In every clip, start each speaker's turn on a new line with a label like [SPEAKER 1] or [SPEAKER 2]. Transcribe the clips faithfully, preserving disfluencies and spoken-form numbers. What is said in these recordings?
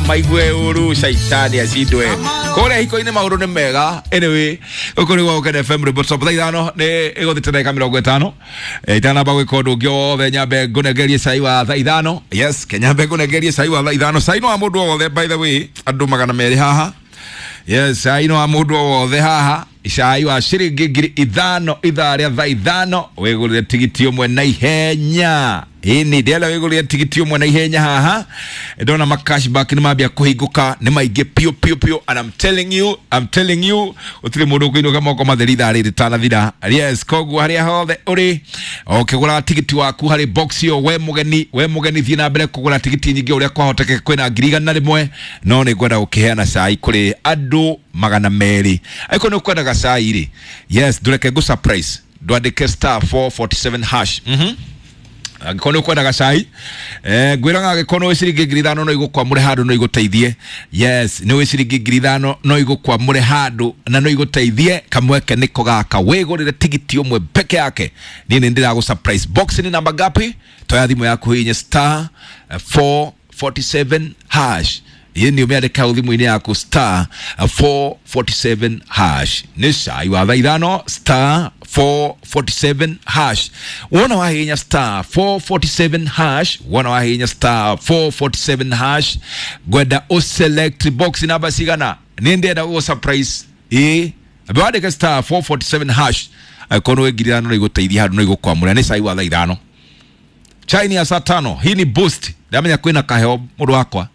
[SPEAKER 1] Maigue uru shaitani acindwe. Kũrĩa hiko-inĩ maũndũ nĩ mega. Anyway, gũkũ nĩ gwa Gũkena F M rwĩmbo top thaa ithano nĩ ĩgũthĩte ndagĩka mĩrongo ĩtano. Itanamba gwĩka ũndũ ũngĩ wothe nyambe ngũnengerie cai wa thaa ithano. Yes, kenyambe ngũnengerie cai wa thaa ithano. Cai no wa mũndũ o wothe, by the way, andũ magana merĩ haha. Yes, cai no wa mũndũ o wothe haha. Cai wa ciringi ngiri ithano ithaa rĩa thaa ithano wĩgũrĩre tigiti ũmwe na ihenya. Ĩni ndĩrenda wĩgũrĩre tigiti ũmwe na ihenya haha. Ndona ma cashback nĩ mambia kũhingũka nĩ maingĩ piũ piũ piũ, and I'm telling you, I'm telling you gũtirĩ mũndũ ũkũinũka moko matheri ithaa rĩrĩ rĩtanathira. Yes, koguo harĩa hothe ũrĩ ũkĩgũra tigiti waku harĩ box ĩyo, we mũgeni, we mũgeni thiĩ na mbere kũgũra tigiti nyingĩ ũrĩa kwahotekeka, kwĩna ngiri igana rĩmwe, no nĩ ngwenda gũkĩheana cai kũrĩ andũ magana merĩ. Angĩkorwo nĩ ũkwendaga cai rĩ, yes, ndũreke ngũ surprise, ndwandĩke star four forty-seven hash. Mhm. Angĩkorwo nĩ ũkwendaga cai, eh, ngwĩraga angĩkorwo nĩ wĩ ciringi ngiri ithano no igũkwamũre handũ no igũteithie. Yes, nĩ wĩ ciringi ngiri ithano no igũkwamũre handũ na no igũteithie. Kamweke nĩko gaka, wĩgũrĩre tigiti ũmwe peke yake. Niĩ nĩ ndĩragũ surprise. Box nĩ namba ngapi? Toya thimũ yaku hihinye star four forty-seven hash. Ĩĩ nĩ ũmĩandĩke hau thimũ-inĩ yaku star four forty-seven hash. Nĩ cai wa thaa ithano star four forty-seven hash. Wona wahihinya star four forty-seven hash, wona wahihinya star four forty-seven hash, ngwenda ũselect box namba cigana. Nĩ ndĩrenda gũgũ surprise. Ĩĩ, ambe wandĩke star four forty-seven hash. Angĩkorwo nĩ wĩ ngiri ithano no igũteithie handũ no igũkwamũra. Nĩ cai wa thaa ithano. Chai ni ya saa tano. Hii ni boost. Ndamenya kwĩna kaheo mũndũ wakwa.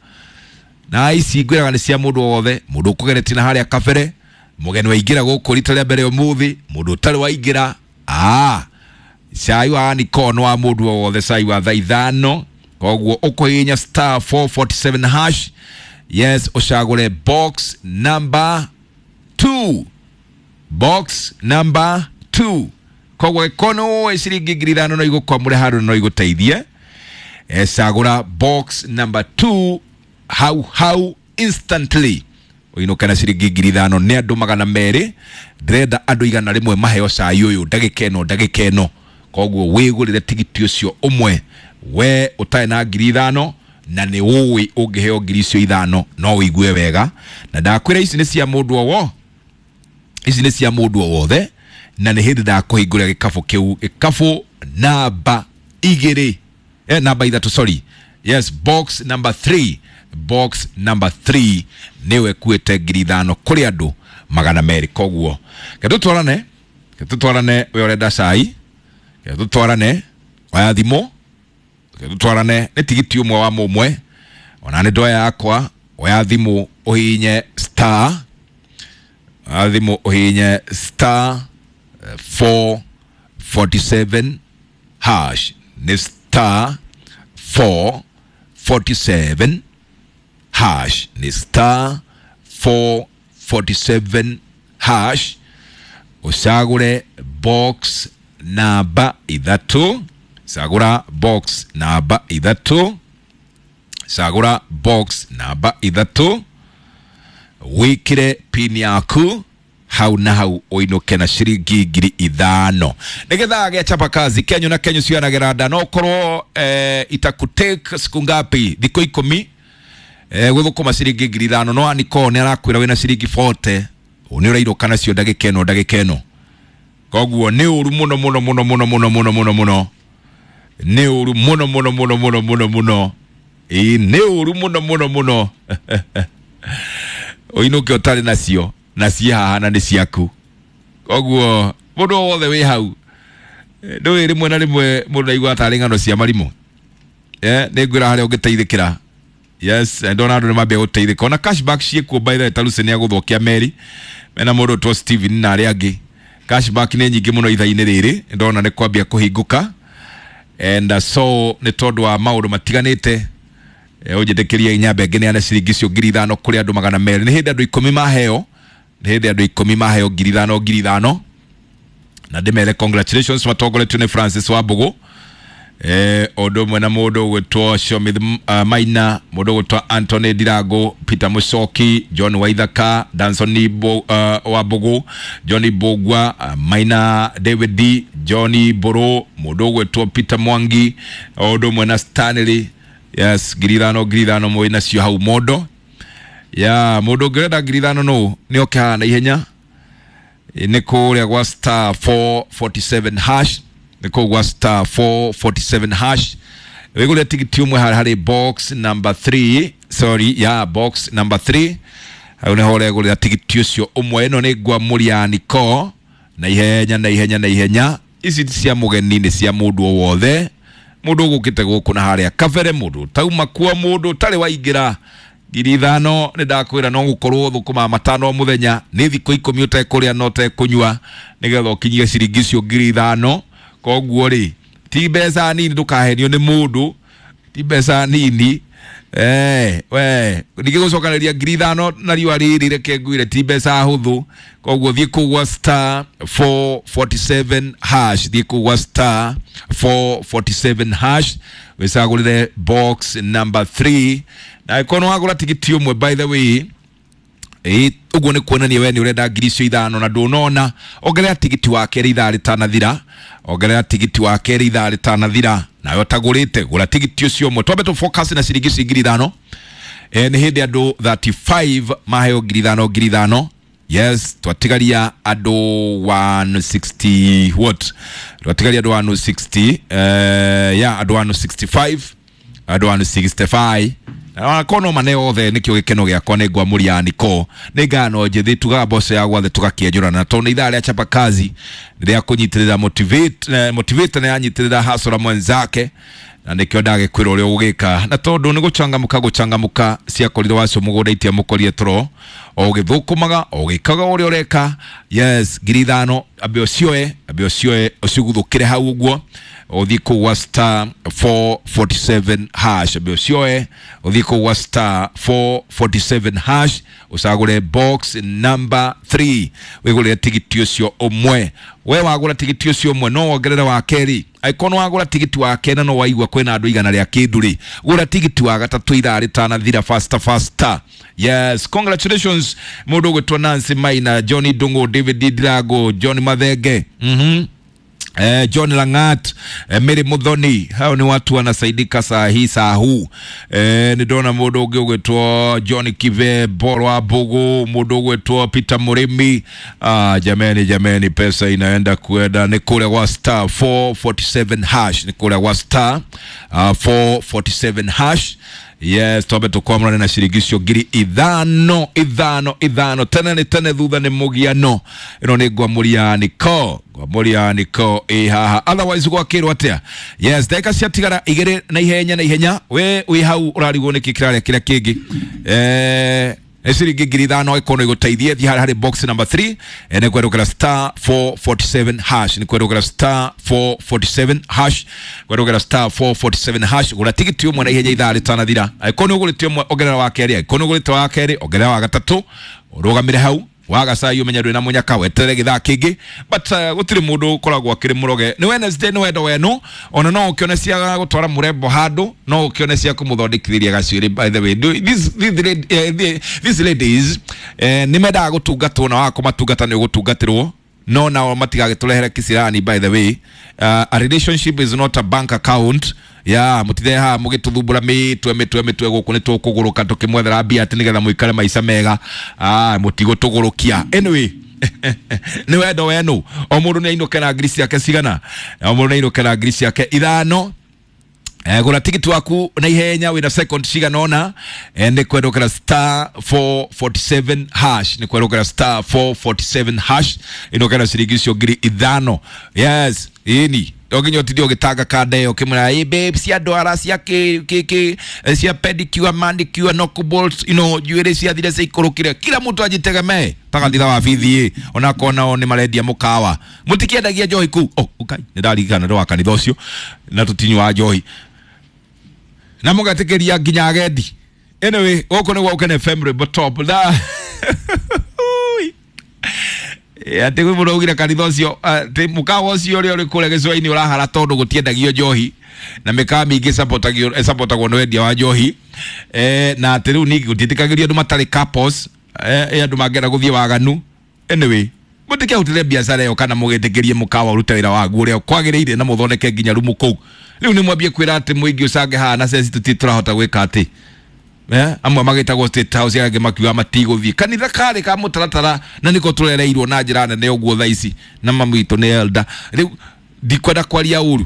[SPEAKER 1] Na ici ngwĩraga nĩ cia mũndũ wothe, mũndũ ũkũgeretie na harĩa kabere, mũgeni waingĩra gũkũ rita rĩa mbere ũmũthĩ, mũndũ ũtarĩ waingĩra. Ah, cai wa Nikon wa mũndũ o wothe, cai wa thaa ithano. Koguo ũkũhihinya star four forty-seven hash. Yes, ũcagũre box number two. Box number two. Koguo ĩkorwo nĩ ciringi ngiri ithano no igũkwamũre handũ no igũteithie. Eh, cagũra box number two hau hau instantly. Ũinũke na ciringi ngiri ithano nĩ andũ magana merĩ. Ndĩrenda andũ igana rĩmwe maheo cai ũyũ ndagĩka ĩno ndagĩka ĩno. Koguo wĩgũrĩre tigiti ũcio ũmwe we ũtarĩ na ngiri ithano na nĩ ũĩ ũngĩheo ngiri icio ithano no ũigue wega. Na ndakwĩra ici nĩ cia mũndũ o wo, ici nĩ cia mũndũ o wothe, na nĩ hĩndĩ ndakũhingũrĩra gĩkabũ kĩu, gĩkabũ namba igĩrĩ, eh, namba ithatũ, sorry. Yes, box number three. Box number three nĩwe ĩkuĩte ngiri ithano kũrĩ andũ magana merĩ. Koguo reke tũtwarane, reke tũtwarane we ũrenda cai, reke tũtwarane oya thimũ, reke tũtwarane nĩ tigiti ũmwe wa mũmwe, ona nĩ ndoya yakwa, oya thimũ ũhihinye star, oya thimũ ũhihinye star four forty-seven hash. Nĩ star four forty-seven hash. Nĩ star four forty-seven hash. Ũcagũre box namba ithatũ. Cagũra box namba ithatũ. Cagũra box namba ithatũ. Wĩkĩre pin yaku hau na hau ũinũke na ciringi ngiri ithano. Nĩgetha gĩa chapa kazi kenyu na kenyu cianagĩra nda, no ũkorwo, eh, itakutake siku ngapi, thikũ ikũmi, eh, gũthũkũma ciringi ngiri ithano, no Aniko nĩ arakwĩra wĩna ciringi forty, nĩ ũrairũka nacio ndagĩka ĩno ndagĩka ĩno. Koguo nĩ ũru mũno mũno mũno mũno mũno mũno mũno mũno. Nĩ ũru mũno mũno mũno mũno mũno mũno. Ĩĩ, nĩ ũru mũno mũno mũno. Ũinũke ũtarĩ nacio, na ciĩ haha na nĩ ciaku. Koguo mũndũ o wothe wĩ hau, ndũĩ rĩmwe na rĩmwe mũndũ aiguaga tarĩ ng'ano cia marimũ. Eh, nĩ ngwĩra harĩa ũngĩteithĩkĩra. Yes, ndona andũ nĩ mambia gũteithĩka. Ona cashback ciĩkuo by the way, ta Lucy nĩ agũthũkia meri. Mena mũndũ ũtwo Steven na arĩa angĩ. Cashback nĩ nyingĩ mũno ithaa-inĩ rĩrĩ, ndona nĩ kwambia kũhingũka. And, uh, so nĩ tondũ wa maũndũ matiganĩte, eh, ũnjĩtĩkĩrie nyambe ngĩneane ciringi icio ngiri ithano kũrĩ andũ magana merĩ. Nĩ hĩndĩ andũ ikũmi maheo, nĩ hĩndĩ andũ ikũmi maheo ngiri ithano ngiri ithano. Na ndĩmere congratulations matongoretio nĩ Francis Wambũgũ. Eh, ũndũ ũmwe na mũndũ ũgwĩtwo Shomith, uh, Maina, mũndũ ũgwĩtwo Anthony Ndirango, Peter Mucoki, John Waithaka, Danson Bo, uh, Wambũgũ, John Bogwa, uh, Maina David D, John Boro, mũndũ ũgwĩtwo Peter Mwangi, ũndũ ũmwe na Stanley. Yes, ngiri ithano ngiri ithano mwĩ nacio hau mondo. Ya mundu ũngĩrenda ngiri ithano nũ nĩ oke haha na ihenya. Nĩ kũrĩa gwa star four forty-seven hash, nĩ kũu gwa star four forty-seven hash wĩgũrĩre tigiti ũmwe harĩa harĩ box number three, sorry ya box number three, hau nĩho ũregũrĩra tigiti ũcio ũmwe. Ĩno nĩ ngwamũri ya Niko na ihenya na ihenya na ihenya. Ici ti cia mũgeni, nĩ cia mũndũ o wothe, mũndũ ũgũkĩte gũkũ na harĩa kabere, mũndũ tauma kuo, mũndũ ũtarĩ waingĩra. Ngiri ithano nĩ ndakwĩra no gũkorwo thũkũma matano o mũthenya, nĩ thikũ ikũmi ũtekũrĩa na ũtekũnyua nĩgetha ũkinyie ciringi icio ngiri ithano. Koguo rĩ, ti mbeca nini, ndũkahenio nĩ mũndũ, ti mbeca nini. Eh, we ningĩ gũcokanĩria ngiri ithano na riũa rĩrĩ, reke ngwĩre ti mbeca hũthũ. Koguo thiĩ kũu gwa star four forty-seven hash, thiĩ kũu gwa star four forty-seven hash wĩcagũrĩre box number three. Na angĩkorwo nĩ wagũra tigiti ũmwe, by the way, ĩ ũguo nĩ kuonania we nĩ ũrenda ngiri icio ithano na ndũnona, ongerera tigiti wa kerĩ ithaa rĩtanathira, ongerera tigiti wa kerĩ ithaa rĩtanathira. Nawe ũtagũrĩte gũra tigiti ũcio ũmwe. Twambe tũ focus na ciringi ici ngiri ithano. Eh, nĩ hĩndĩ andũ thirty-five maheo ngiri ithano ngiri ithano. Yes, twatigaria andũ one sixty what? Twatigaria andũ one sixty, eh, ya andũ one sixty-five, andũ one sixty-five. Na kono mane othe nikio gikeno giakwa nĩ ngwamũri ya Niko. Nĩ ngano njĩthĩ tugaga mboco ya gwathe tũgakĩenjũrana. Na tondũ nĩ ithaa rĩa chapa kazi rĩa kũnyitĩrĩra motivate, eh, motivate na yanyitĩrĩra hasora mwenzake, na nĩkĩo ndagĩkwĩra ũrĩa ũgũgĩka. Na tondũ nĩ gũcangamũka gũcangamũka ciakorire wacio mũgũnda itiamũkorire toro, o ũgĩthũkũmaga o ũgĩkaga ũrĩa ũreka. Yes, ngiri ithano ambe ũcioe, ambe ũcioe ũciguthũkĩre hau ũguo, ũthiĩ kũu gwa star four forty-seven hash, ambe ũcioe ũthiĩ kũu gwa star four forty-seven hash ũcagũre box number three wĩgũrĩre tigiti ũcio ũmwe. We wagũra tigiti ũcio ũmwe no wongerere wa kerĩ. Angĩkorwo nĩ wagũra tigiti wa kerĩ na no waigua kwĩna andũ igana rĩa kĩndũ rĩ, gũra tigiti wa gatatũ ithaa rĩtanathira, faster faster. Yes, congratulations mũndũ ũgwĩtwo Nancy Maina, Johnny Ndung'u, David Ndirango, John Mathenge, mhm Eh, John Langat, eh, Mary Muthoni, hao ni watu wanasaidika saa hii saa huu. Eh, nidona mundu ungi ugwitwo John Kive Borwa Mbugu, mundu ugwitwo Peter Murimi. Ah, jameni jameni, pesa inaenda kuenda ni kule kwa star four forty-seven hash, ni kule kwa star, uh, four forty-seven hash. Yes, twambe tukwamũrane na ciringi icio ngiri ithano ithano ithano, tene nĩ tene thutha nĩ mũgiano. Ĩno nĩ ngwamũri ya Niko, ngwamũri ya Niko ĩ haha. Otherwise gwakĩrwo atĩa? Yes, ndagĩka ciatigara igĩrĩ na ihenya na ihenya. We wĩ hau ũrarigwo nĩkĩ kĩrarĩa kĩrĩa kĩngĩ. Eh, nĩ ciringi ngiri ithano ĩkorwo ĩgũteithie. Thiĩ harĩa harĩ box number three, eh, nĩ kwerũkĩra star four forty-seven hash, nĩ kwerũkĩra star four forty-seven hash, kwerũkĩra star four forty-seven hash. Gũra tigiti ũmwe na ihenya ithaa rĩtanathira. Angĩkorwo nĩ ũgũrĩte ũmwe ongerera wa kerĩ, angĩkorwo nĩ ũgũrĩte wa kerĩ ongerera wa gatatũ, ũrũgamĩre hau waga cai ũmenye ndwĩ na mũnyaka, weterere gĩthaa kĩngĩ. But, uh, gũtirĩ mũndũ ũkoragwo akĩrĩ mũroge. Nĩ Wednesday, nĩ wendo wenu, ona no ũkĩone cia gũtwara mũrembo handũ, no ũkĩone cia kũmũthondekithĩria gacuĩrĩ. By the way, these, these, eh, these ladies, eh, nĩ mendaga gũtungatwo, na waga kũmatungata nĩ ũgũtungatĩrwo. No nao matigagĩtũrehere kĩcirani. By the way, uh, a relationship is not a bank account. Ya mũtithe haha mũgĩtũthumbũra mĩtwe mĩtwe mĩtwe gũkũ nĩ tũkũgũrũka tũkĩmwethera mbia atĩ nĩgetha mũikare maica mega. Ah, mũtigũtũgũrũkia. Anyway, nĩ wendo wenu. O mũndũ nĩ ainũke na ngiri ciake cigana, o mũndũ nĩ ainũke na ngiri ciake ithano. Eh, gũra tigiti waku na ihenya wĩna second cigana ũna. Eh, nĩ kwerũkĩra star four forty-seven hash, nĩ kwerũkĩra star four forty-seven hash, ĩnũkĩra ciringi icio ngiri ithano. Yes, ĩni no nginya ũtinde ũgĩtanga kanda ĩyo ũkĩmwĩra, ĩ babe, cia ndwara cia kĩ, kĩ, kĩ, cia pedicure, manicure, knuckle, you know, njuĩrĩ ciathire ciikũrũkire. Kila mtu ajitegemee. Tagatitha wa bithi ĩ, ona akorwo nao nĩ marendia mũkawa, mũtikĩendagia njohi kũu. Oh, ũkai, nĩ ndaririkana ndĩ wa kanitha ũcio na tũtinyuaga njohi na mũgetĩkĩria nginya agendi. Anyway, gũkũ nĩ gwa Ũkene F M Rwĩmbo Top. Na atĩ kwĩ mũndũ augire kanitha ũcio, atĩ mũkawa ũcio ũrĩa ũrĩ kũrĩa gĩcũa-inĩ ũrahara tondũ gũtiendagio njohi, na mĩkawa mĩingĩ ĩsapotagio, ĩsapotagwo nĩ wendia wa njohi. Eh, na atĩ rĩu ningĩ gũtiĩtĩkagĩrio andũ matarĩ couples, eh, andũ mangĩenda gũthiĩ waganu. Anyway, mũtikehutĩre biacara ĩyo kana mũgĩtĩkĩrie mũkawa ũrute wĩra waguo ũrĩa kwagĩrĩire na mũthondeke nginya rumu kũu. Rĩu nĩ mwambie kwĩra atĩ mũingĩ ũcange haha na ceci tũtirĩ tũrahota gwĩka atĩ. eh amwe magitagwo State House angĩ makiuga matigũthiĩ kanitha karĩ ka mũtaratara na nĩko tũrereirwo na njĩra nene ũguo thaa ici na mami witũ nĩ elder rĩu ndikwenda kwaria ũru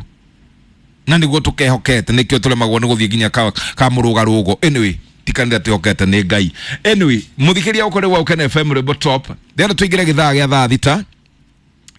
[SPEAKER 1] na nĩguo tũkehokete nĩkĩo tũremagwo nĩ gũthiĩ nginya ka, ka mũrũgarũgo. Anyway, ti kanitha twĩhokete nĩ Ngai. Anyway, mũthikĩria ũkorĩ wa Ukene F M Rwĩmbo Top ndĩrenda tũingĩre gĩthaa gĩa thaa thita.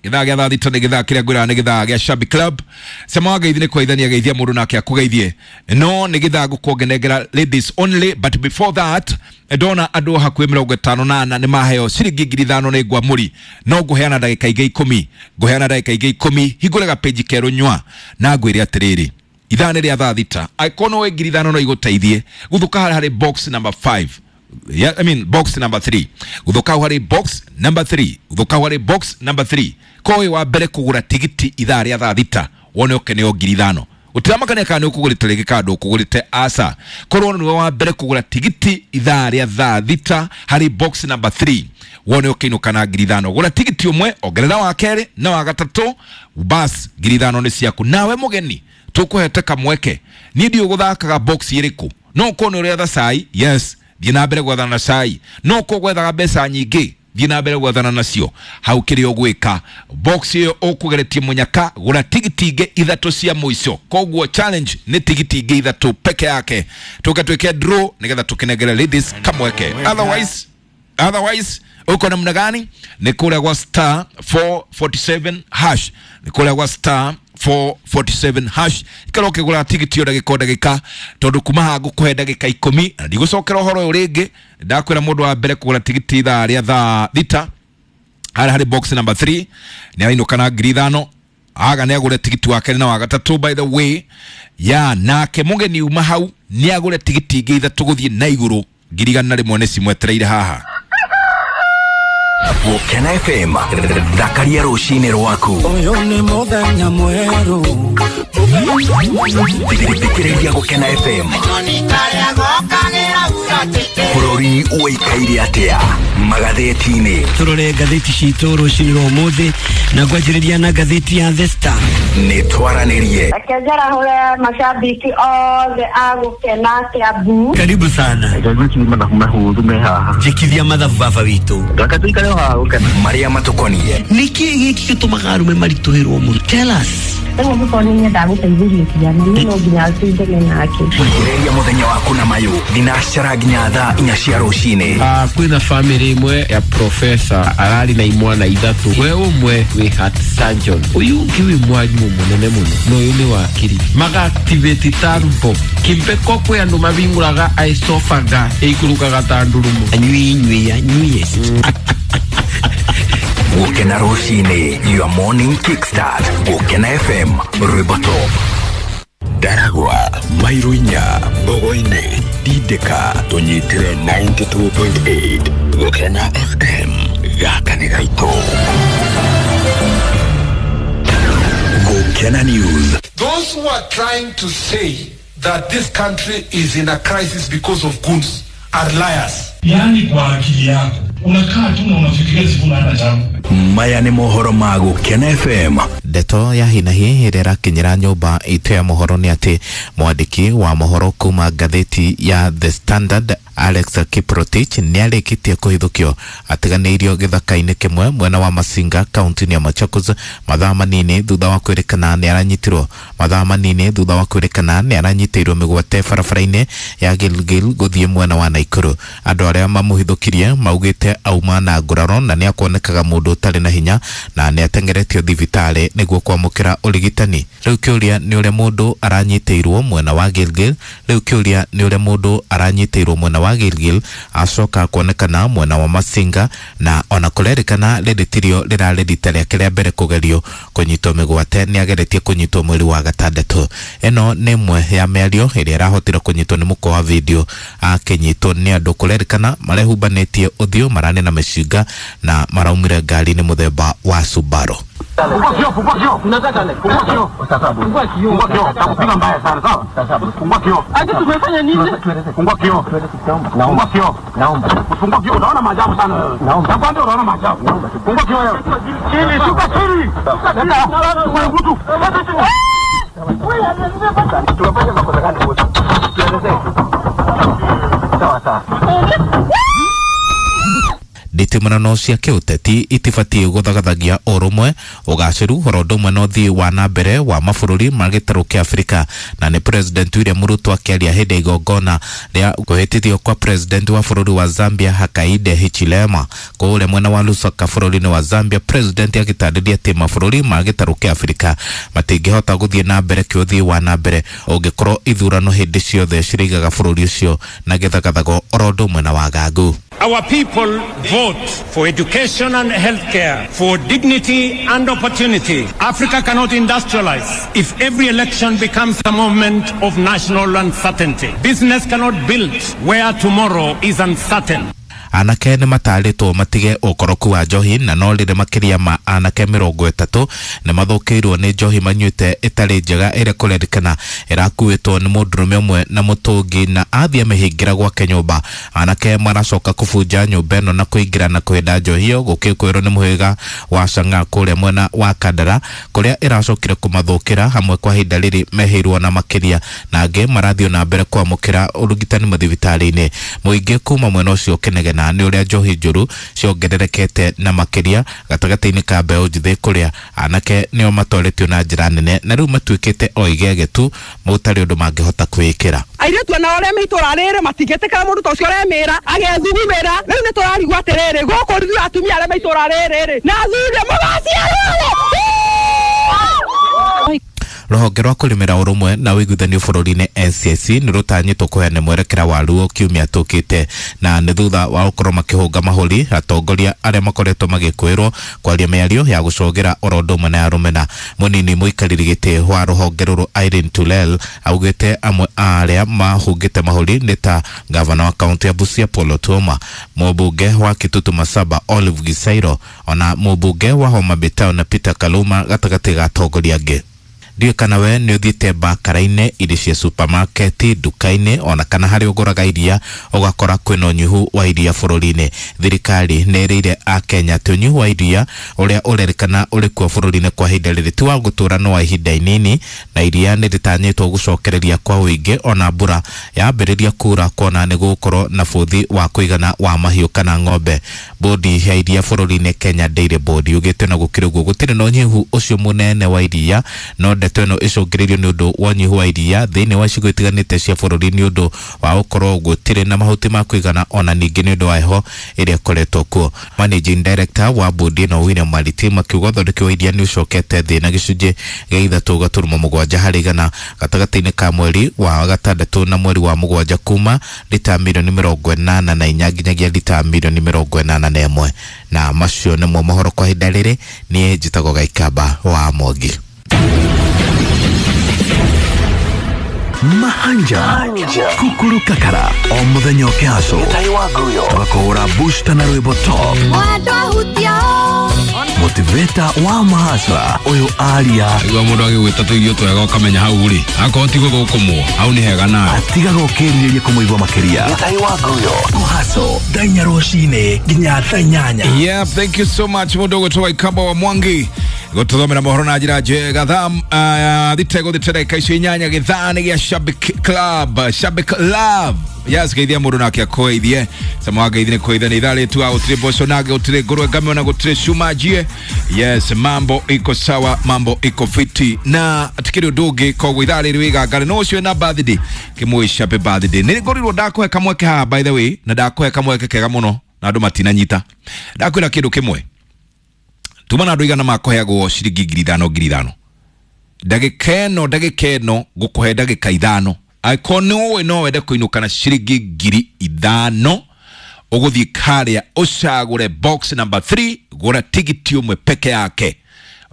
[SPEAKER 1] Gĩthaa gĩa thaa thita nĩ gĩthaa kĩrĩa ngwĩraga nĩ gĩthaa gĩa Shabby Club. Cema wa ngeithi nĩ kũgeithania geithia mũndũ nake akũgeithie, no nĩ gĩthaa ngũkũngenengera ladies only, but before that ndona andũ hakuhĩ mĩrongo ĩtano na ana nĩ maheo ciringi ngiri ithano nĩ ngwamũri, no ngũheana ndagĩka ingĩ ikũmi, ngũheana ndagĩka ingĩ ikũmi hingũre gapeji kerũ nyua na ngwĩre atĩrĩrĩ ithaa nĩ rĩa thaa thita angĩkorwo no ngiri ithano no igũteithie gũthũka harĩ box number five. Yeah, I mean box number three. Guthuka harĩ box number three. Guthuka harĩ box number three. Kowe wa mbere kugura tigiti ithaa rĩa thaa thita wone ũkeneo ngiri ithano. Ũtiramakania kana nĩ ũkũgũrĩte rĩngĩ kana ndũkũgũrĩte, aca. Korwo nĩwe wa mbere kũgũra tigiti ithaa rĩa thaa thita harĩ box number three wone ũkĩinũka na ngiri ithano. Gũra tigiti ũmwe, ongerera wa kerĩ na wa gatatũ, bas ngiri ithano nĩ ciaku. Nawe mũgeni tũkũhete kamweke. Niĩ ndiũĩ gũthakaga box ĩrĩkũ. No ũkorwo nĩ ũrĩa cai, yes, thiĩ na mbere gwethana na cai. No ũkorwo gwethaga mbeca nyingĩ, thiĩ na mbere gwethana nacio. Hau kĩrĩa ũgwĩka box ĩyo ũkũgeretie mũnyaka, gũra tigiti ingĩ ithatũ cia mũico. Koguo challenge nĩ tigiti ingĩ ithatũ peke yake, tũke twĩke draw nĩgetha tũkĩnengere ladies kamweke. Otherwise, otherwise uko namna gani? Ni kule kwa star four forty-seven hash, ni kule kwa star four forty-seven hash. Ikara ũkĩgũra tigiti o ndagĩka o ndagĩka tondũ kuma haha ngũkũhe ndagĩka ikũmi na ndigũcokera ũhoro ũyũ rĩngĩ. Ndakwĩra mũndũ wa mbere kũgũra tigiti ithaa rĩa thaa thita harĩa harĩ box number three nĩ arainũka na ngiri ithano. Aga nĩ agũre tigiti wa kerĩ na wa gatatũ, by the way ya nake mũgeni uma hau nĩ agũre tigiti ingĩ ithatũ gũthiĩ na igũrũ ngiri igana rĩmwe nĩ cimwetereire haha.
[SPEAKER 2] Gukena F M thakaria rũcinĩ rwaku.
[SPEAKER 3] Ũyũ nĩ mũthenya mwerũ.
[SPEAKER 2] Thikĩrĩria Gukena F M. Bũrũri ũikaire atĩa magathĩti-inĩ?
[SPEAKER 3] Tũrore ngathĩti citũ rũcinĩ rwa ũmũthĩ na ngwanjĩrĩria na ngathĩti ya The Star.
[SPEAKER 2] Nĩ twaranĩrie.
[SPEAKER 4] Reke njarahũre mashabiki othe a Gukena Kiambu.
[SPEAKER 3] Karibu sana.
[SPEAKER 5] Reke ngwĩcirie mathabu mahũthũ me haha.
[SPEAKER 3] Njĩkithia mathabu baba witũ.
[SPEAKER 5] Reke tũikare o haha Gukena.
[SPEAKER 2] Marĩa matũkoniĩ.
[SPEAKER 3] Nĩkĩ gĩkĩ gĩtũmaga arũme maritũhĩrwo mũno? Tell us.
[SPEAKER 4] Rĩu angĩkorwo nĩ nyendaga gũteithĩrĩria ciana, niĩ no nginya tũindane nake.
[SPEAKER 2] Thikĩrĩria mũthenya waku na mayũ thinacara nginya thaa inya cia rũcinĩ.
[SPEAKER 6] Ah, kwĩna family ĩmwe ya professor ararĩ na imwana ithatũ, we ũmwe wĩ heart surgeon, ũyũ ũngĩ wĩ mwarimũ mũnene mũno na ũyũ nĩ wakiri. Maga-activate turbo kimbeko kwĩ andũ mabingũraga esophagus ĩikũrũkaga ta ndurumo.
[SPEAKER 3] Anyui inyui anyui.
[SPEAKER 2] Gukena rũcinĩ, your morning kickstart. Gukena F M Rwĩmbo Top.
[SPEAKER 7] Ndaragwa, Mairũ inya, Mbogo-inĩ, Ndindĩka, tũnyitĩre ninety-two point eight. Gukena F M, gaka nĩ gaitũ. Gukena News.
[SPEAKER 8] Those who are trying to say that this country is in a crisis because of goons are liars.
[SPEAKER 9] Yaani kwa akili yako unakaa tu na unafikiria Sifuna hana chama.
[SPEAKER 2] Maya nĩ mohoro ma Gukena F M.
[SPEAKER 10] Ndeto ya hinahi ĩrĩa ĩrakinyĩra nyũmba itũ ya mohoro nĩ atĩ mwandĩki wa mohoro kuma ngathĩti ya The Standard Alex Kiprotich nĩ arĩkĩtie kũhithũkio atiganĩirio gĩthaka-inĩ kĩmwe mwena wa Masinga kaunti-inĩ ya Machakos mathaa manini thutha wa kwĩrĩkana nĩ aranyitirwo mathaa manini thutha wa kwĩrĩkana nĩ aranyitĩirwo mĩgwate barabara-inĩ ya Gilgil gũthiĩ mwena wa Naikuru. Andũ arĩa mamũhithũkirie maugĩte auma na nguraro na nĩ akuonekaga mũndũ ũtarĩ na hinya na nĩ atengeretio thibitarĩ nĩguo kwamũkĩra ũrigitani. Rĩu kĩũria nĩ ũrĩa mũndũ aranyitĩirwo mwena wa Gilgil rĩu kĩũria nĩ ũrĩa mũndũ aranyitĩirwo mwena wa Gilgil acoka kuonekana mwena wa Masinga na ona kũrerĩkana rĩrĩ tirio rĩrarĩ rita rĩake rĩa mbere kũgerio kũnyitwo mĩgwate nĩ ageretie kũnyitwo mweri wa gatandatũ. Ĩno nĩ ĩmwe ya mĩario ĩrĩa ĩrahotire kũnyitwo nĩ mũkwa wa video akĩnyitwo nĩ andũ kũrerĩkana marehumbanĩtie ũthiũ mararĩ na mĩcinga na maraumire ngari-inĩ mũthemba wa Subaru.
[SPEAKER 5] Fungua kioo, fungua kioo. Unataka nini? Fungua kioo. Fungua kioo. Fungua kioo. Takupiga mbaya sana, sawa? Fungua kioo. Aje tumefanya nini? Fungua kioo. Naomba kioo. Naomba. Fungua kioo, unaona maajabu sana wewe. Naomba. Nakwambia unaona maajabu. Naomba. Fungua kioo wewe. Chini, shuka chini. Leta. Mtu. Wewe, tumefanya makosa gani wote? Tuelezee. Sawa sawa.
[SPEAKER 10] Nditimũrano cia kĩũteti itibatiĩ gũthagathagia ũrũmwe, ũgacĩru oro ũndũ ũmwe na ũthii wa na mbere wa mabũrũri ma gĩtarũ kĩa Afrika. Na nĩ President William Ruto akĩaria hĩndĩ ya igongona rĩa kũhĩtithio kwa President wa bũrũri wa Zambia Hakainde Hichilema kũrĩa mwena wa Lusaka bũrũri-inĩ wa Zambia. President agĩtarĩria atĩ mabũrũri ma gĩtarũ kĩa Afrika matingĩhota gũthiĩ na mbere kĩũthii wa na mbere ũngĩkorwo ithurano hĩndĩ ciothe cirĩigaga bũrũri ũcio na gĩthagathago oro ũndũ ũmwe na wagagu.
[SPEAKER 11] Our people vote for education and healthcare, for dignity and opportunity. Africa cannot industrialize if every election becomes a moment of national uncertainty. Business cannot build where tomorrow is uncertain.
[SPEAKER 10] Anake nĩ matarĩtwo matige ũkoroku wa njohi, na no rĩrĩ makĩria ma anake mĩrongo ĩtatũ nĩ mathũkĩirwo nĩ njohi manyuĩte ĩtarĩ njega ĩrĩa kũrerĩkana ĩrakuĩtwo nĩ mũndũrũme ũmwe na mũtũngi na athiĩ amĩhingĩra gwake nyũmba. Anake maracoka kũbunja nyũmba ĩno na kũingĩra na kũhĩnda njohi ĩyo gũkĩkwĩrwo nĩ mũhĩrĩga wa Chang'aa kũrĩa mwena wa Kandara kũrĩa ĩracokire kũmathũkĩra hamwe kwa ihinda rĩrĩ mehĩirwo na makĩria, na angĩ marathiĩ na mbere kwamũkĩra ũrigitani mathibitarĩ-inĩ. Mũingĩ kuma mwena ũcio ũkĩnegena nĩ ũrĩa njohi njũru ciongererekete na makĩria gatagatĩ-inĩ ka mbeũ njĩthĩ kũrĩa anake nĩo matoretio na njĩra nene na rĩu matuĩkĩte o igege tu mũtarĩ ũndũ mangĩhota kwĩĩkĩra.
[SPEAKER 12] Airĩtu ona ũrĩa me itũra rĩrĩ matingĩtĩkĩra mũndũ ta ũcio ũremĩra agethugumĩra. Rĩu nĩ tũrarigwo atĩrĩrĩ, gũkũ ithuĩ atumia arĩa me itũra rĩrĩ na athuri mũgaciarwo.
[SPEAKER 10] Rũhonge rwa kũrĩmĩra ũrũmwe na ũiguithanio bũrũri-inĩ N C I C nĩ rũtanyĩtwo kũheana mwerekera waruo kiumia tũkĩte, na nĩ thutha wa gũkorwo makĩhũnga mahũri atongoria arĩa makoretwo magĩkwĩrwo kwaria mĩario ya gũcogera oro ũndũ ũmwe na ya rũmena. Mũnini mũikarĩri gĩtĩ wa rũhonge rũrũ Irene Tulel augĩte amwe a arĩa mahũngĩte mahũri nĩ ta gavana wa kaunti ya Busia Paul Otuoma, mũmbunge wa Kitutu Masaba Olive Gisairo, ona mũmbunge wa Homa Bay Town Peter Kaluma gatagatĩ ga atongoria angĩ. Ndiũĩ kana we nĩ ũthiĩte bakara-inĩ irio cia supermarket, nduka-inĩ ona kana harĩa ũgũraga iria ũgakora kwĩna ũnyihu wa iria bũrũri-inĩ. Thirikari nĩ ĩrĩire akenya atĩ ũnyihu wa iria ũrĩa ũrerĩkana ũrĩ kuo bũrũri-inĩ kwa ihinda rĩrĩ ti wa gũtũra no wa ihinda inini, na iria nĩ rĩtanyĩtwo gũcokereria kwa ũingĩ ona mbura yambĩrĩria kura kuona nĩ gũgũkorwo na bũthi wa kũigana wa mahiũ kana ng'ombe. Bodi ya iria bũrũri-inĩ Kenya Dairy Board yugĩte na gũkĩrĩ ũguo gũtirĩ na ũnyihu ũcio mũnene wa iria, no ndeto ĩno ĩcũngĩrĩirio nĩ ũndũ wa ũnyihu wa iria thĩinĩ wa icigo itiganĩte cia bũrũri nĩ ũndũ wa gũkorwo gũtirĩ na mahuti ma kũigana ona ningĩ nĩ ũndũ wa heho ĩrĩa ĩkoretwo kuo. Managing Director wa bodi ĩno William Maritim akiuga ũthondeki wa iria nĩ ũcokete thĩ na gĩcunjĩ gĩa ithatũ gaturuma mũgwanja harĩ igana gatagatĩ-inĩ ka mweri wa gatandatũ na mweri wa mũgwanja kuma lita milioni mĩrongo ĩnana na inya nginyagia lita milioni mĩrongo ĩnana na ĩmwe. Na macio nĩmo mohoro kwa ihinda rĩrĩ. Niĩ njĩtagwo Gaikamba wa Mwangi.
[SPEAKER 2] Mahanja Kukuru Kakara o muthenya ũkĩhaco tũgakũhũra booster na rwĩmbo top motivator wa mahasra ũyũ aria
[SPEAKER 1] igua mũndũ agĩgwĩta tũirio twega ũkamenya hau rĩ akorwo ti gũthũkũmwo hau nĩ hega nawe
[SPEAKER 2] atigaga ũkĩrirĩria kũmũigua makĩria kũhaco thaa inya rũcinĩ nginya thaa inyanya.
[SPEAKER 1] Yeah, thank you so much mũndũ ũgwĩtwo Waikamba wa Mwangi gũtũthomera mohoro na njĩra njega. Thaa thita gũthĩte ndagĩka icio inyanya gĩthaa nĩ gĩa Shabik Club, Shabik Love. Yes, geithia mũndũ nake akũgeithie sama wa ngeithi nĩ kũgeithania ithaa rĩtu a gũtirĩ mboco nage gũtirĩ ngũrwe ngame ona gũtirĩ cuma njie. Yes, mambo iko sawa, mambo iko fiti na atikĩrĩ ũndũ ũngĩ. Koguo ithaa rĩrĩ wĩgangare no ũcio na birthday kĩmũica happy birthday. Nĩ ngorirwo ndakũhe kamweke haha by the way, na ndakũhe kamweke kega mũno na andũ matinanyita. Ndakwĩra kĩndũ kĩmwe, tuma na andũ igana makũheagwo ciringi ngiri ithano ngiri ithano ndagĩka ĩno ndagĩka ĩno ngũkũhe ndagĩka ithano. Angĩkorwo nĩ ũĩ no wende kũinũka na ciringi ngiri ithano ũgũthiĩ karĩa ũcagũre box number three, gũra tigiti ũmwe peke yake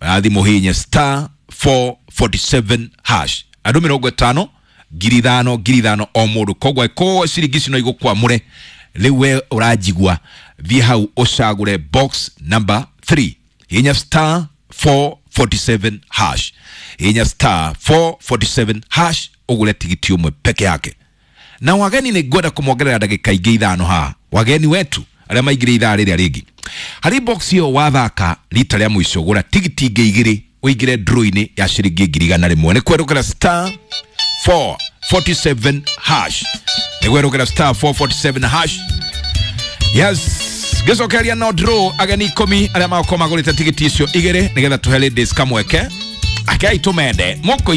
[SPEAKER 1] ũrathiĩ mũhinye star four forty-seven hash andũ mĩrongo ĩtano ngiri ithano ngiri ithano o mũndũ. Koguo angĩkorwo ciringi ici no igũkwamũre rĩu we ũranjigua, thiĩ hau ũcagũre box number three, hinya star four forty-seven hash, hinya star four forty-seven hash ũgũre tigiti ũmwe peke yake. Na wageni nĩ ngwenda kũmongerera ndagĩka ingĩ ithano haha, wageni wetu arĩa maingĩre ithaa rĩrĩa rĩngĩ. Harĩ box ĩyo wathaka rita rĩa mũico gũra tigiti ingĩ igĩrĩ ũingĩre draw-inĩ ya ciringi ngiri igana rĩmwe. Nĩ kwerũkĩra star four forty-seven hash. Nĩguo ĩrũgĩra star four forty-seven hash. Yes, ngĩcokeria no draw ageni ikũmi arĩa magokorwo magũrĩte tigiti icio igĩrĩ nĩgetha tũhe ladies kamweke. Akei tũmende mũkũ.